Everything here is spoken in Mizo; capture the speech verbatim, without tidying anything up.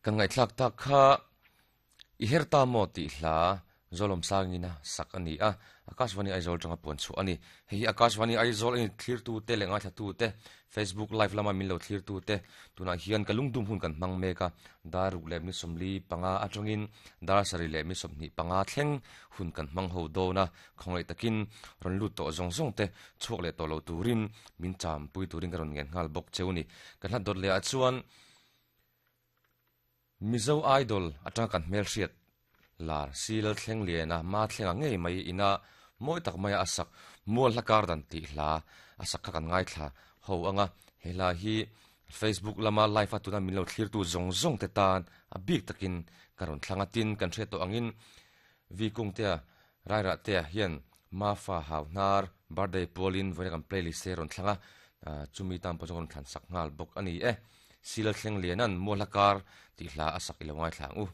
Kan ngaihthlak tak kha i her ta maw tih hla Zolawm sangina sak a ni a, Akashvani Aizawl tanga puan chhuah a ni. Hei hi Akashvani Aizawl a ni thlirtu te leh ngaithlatu te, Facebook live lama min lo thlirtu te, tunah hian ka lungdum hun kan hmang mek a, dar ruk leh mi sawmli panga atangin dar sarih leh mi sawmhnih panga thleng hun kan hmang ho dawn a, khawngaih takin rawn lut tawh zawng zawng te chhuak leh tawh lo turin min cham pui turin ka rawn ngen nghal bawk cheu ni. Kan hlat dawt leh ah chuan Mizo Idol atanga kan hmelhriat lar si lal thleng lian a, ma thleng ang ngei mai ina mawi tak maia a sak mual hla kar dan tih hla a sak kha kan ngaithla ho ang a, he hla hi Facebook lama live a tuna min lo thlirtu zawng zawng te tan a bik takin ka rawn thlang a, tin kan hriat tawh angin Vi Kungtea Rairahtea hian Mafa Hau Hnar birthday pualin vawiina kan playlist te rawn thlang a, chumi tan pawh chuan ka rawn thlan sak nghal bawk a ni e. Silal thleng lianan mual hla kar tih hla a sak i lo ngaithla ang u.